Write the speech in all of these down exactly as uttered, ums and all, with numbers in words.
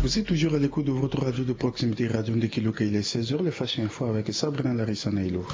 Vous êtes toujours à l'écoute de votre radio de proximité, Radio Ndekiluka. Il est seize heures, les Flash Info avec Sabrina Larissa Nailo.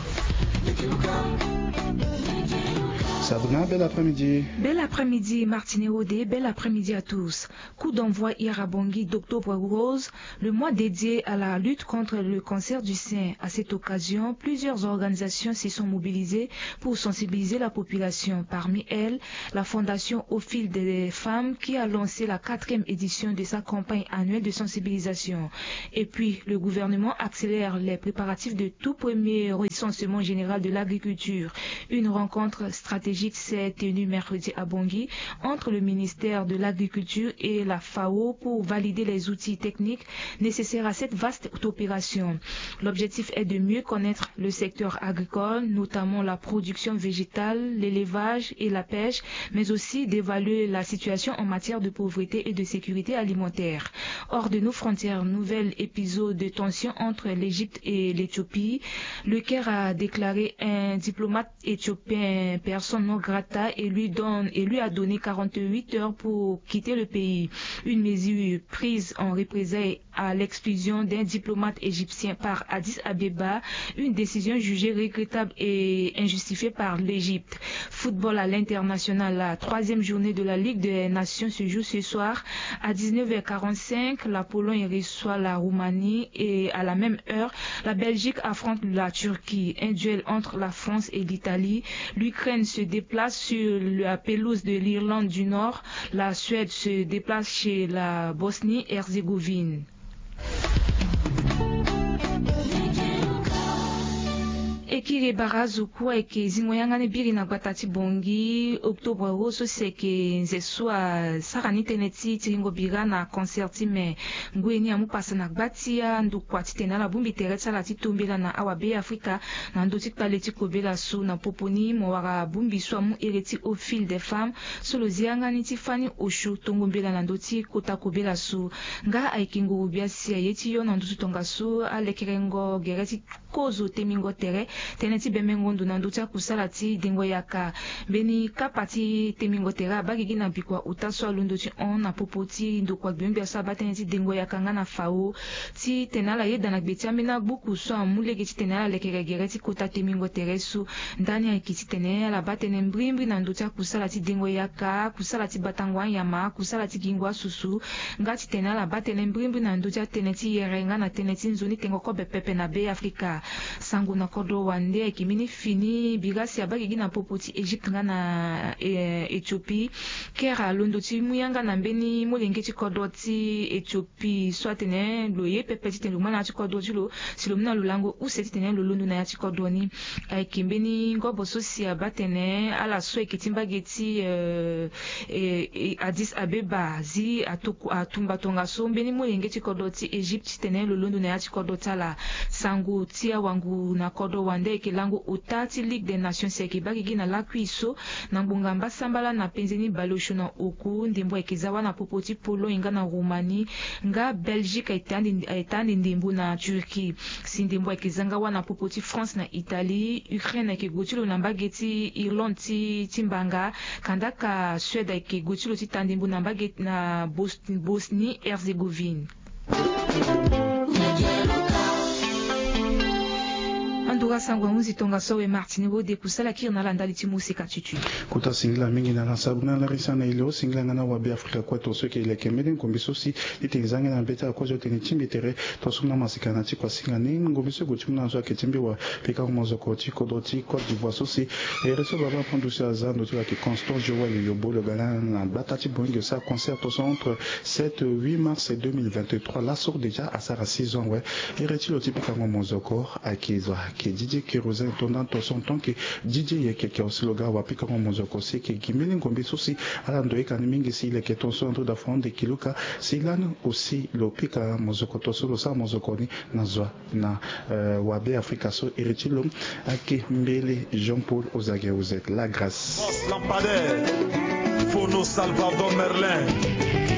Sabrina, bel après-midi. Bel après-midi, Martine Rodé, bel après-midi à tous. Coup d'envoi hier à Bangui d'Octobre Rose, le mois dédié à la lutte contre le cancer du sein. À cette occasion, plusieurs organisations se sont mobilisées pour sensibiliser la population. Parmi elles, la Fondation Au Fil des Femmes, qui a lancé la quatrième édition de sa campagne annuelle de sensibilisation. Et puis, le gouvernement accélère les préparatifs de tout premier recensement général de l'agriculture. Une rencontre stratégique s'est tenue mercredi à Bangui entre le ministère de l'Agriculture et la FAO pour valider les outils techniques nécessaires à cette vaste opération. L'objectif est de mieux connaître le secteur agricole, notamment la production végétale, l'élevage et la pêche, mais aussi d'évaluer la situation en matière de pauvreté et de sécurité alimentaire. Hors de nos frontières, nouvel épisode de tension entre l'Égypte et l'Éthiopie. Le Caire a déclaré un diplomate éthiopien persona non grata et lui donne, et lui a donné quarante-huit heures pour quitter le pays. Une mesure prise en représailles à l'exclusion d'un diplomate égyptien par Addis Abeba, une décision jugée regrettable et injustifiée par l'Égypte. Football à l'international, la troisième journée de la Ligue des Nations se joue ce soir à dix-neuf heures quarante-cinq. La Pologne reçoit la Roumanie et à la même heure, la Belgique affronte la Turquie. Un duel entre la France et l'Italie. L'Ukraine se déplace sur la pelouse de l'Irlande du Nord. La Suède se déplace chez la Bosnie-Herzégovine. E kiri e bara azo kue ayeke zingo yanga ni biri na gbata ti Bangui. Octobre Rose so si ayeke nze so asara ni tënë ti tiringo bira na concert ti me. Ngoi ni amu pasa na gba ti andokua titene ala bongbi tere ti ala ti tombela na awabe Afrika na ndö ti kpale ti kobela so. Na popo ni mo wara bongbi so amu ere ti Au Fil des Femmes so lo zi yanga ni ti fani osio tongo mbela na ndö ti kota kobela so. Nga ayeke nguru bia si aye ti yo na nduzu tongaso, alekerengo gere ti kozo temingo tere, tënë ti bemengo ndo na ndö ti akusala ti dengo yaka. Mbeni kapa ti temingo tere abaa gigi na bikua ota so alondo ti hon na popo ti ndokua gbia so abaa tënë ti dengo yaka nga na FAO titene ala yeda na gbe ti ambeni abuku so amu lege titene ala lekere gere ti kota temingo tere so. Ndani ayeke titene ala baa tënë mbrimbri na ndö ti akusala ti dengo yaka, kusala ti batango anyama, kusala ti gingo asusu, nga titene ala baa tënë mbrimbri na ndö ti atënë ti yere nga na tënë ti nzoni tengo kobe pepe na Be Afrika. Sango na kodro wande ayeke mbeni fini bira si abaa gigi na popo ti Égypte nga na, eh, Éthiopie. Kere alondo ti mu yanga na mbeni molenge ti kodro ti Éthiopie so atene lo ye pepe titene lo ma na ya ti kodro ti lo si lo mu na lo lango use titene lo londo na ya ti kodro ni. Ayeke mbeni ngobo so si abaa tene ala so ayeke ti mbage ti, eh, eh, eh, Addis Abeba zi atuku, atumba tongaso mbeni molenge ti kodro ti Égypte titene lo londo na ya ti kodro ti ala. Sango ti awangu na kodro wande ayeke lango ota ti Ligue des Nations si ayeke baa gigi na lakui so na ngbonga mbasambala na penze ni baleosio na oku. Ndembo ayeke za wâ na popo ti Pologne nga na Roumanie, nga Belgique ayeke ande, ayeke ande ndembo na Turquie. Si ndembo ayeke za nga wâ na popo ti France na Italie. Ukraine ayeke gue ti lo na mbage ti Irlande ti, ti mbanga. Kandaka Suède ayeke gue ti lo ti ta ndembo na mbage na Bos-, Bosnie-Herzégovine. Andura sango ahunzi tongaso awe Martini Rode, kusala kiri na ala ndali ti moseka tutu. Kota singila mingi na ala Sabrina Larissa na e lo, singila nga na awabe Afrika kue tongaso ayeke leke mbeni ngombe so si titene e za nga na mbeti ala kue so titene e tingbi tere tongaso na maseka na ti kua singa ni. Ngombe so e gue ti mu na ala so ayeke ti mbi wa pikango mozoko ti kodro ti Côte d'Ivoire so si ere so baba apondo si aza ndo ti lo ayeke Constant Joël Yobo, lo ga na gbata ti Boeing, e sara concert tongaso entre sept, huit mars deux mille vingt-trois. Laso déjà asara six ans awe. Ere ti lo ti pikango mozoko ayeke zo ayeke D J Kérosène, tonda tongaso en tant que D J yeke ke aussi lo ga wa pikango mozoko si ayeke gi mbeni ngombe so si ala ndo yeka ni mingi si e leke tongaso na ndö da fond de kiluka si lani aussi lo pika mozoko tongaso lo sara mozoko ni na zo na, euh, wabe Afrika so. Ere ti lo ayeke mbele Jean-Paul Ozage, vous êtes la grâce. Boss Lampadaire, Fono Salvador Merlin.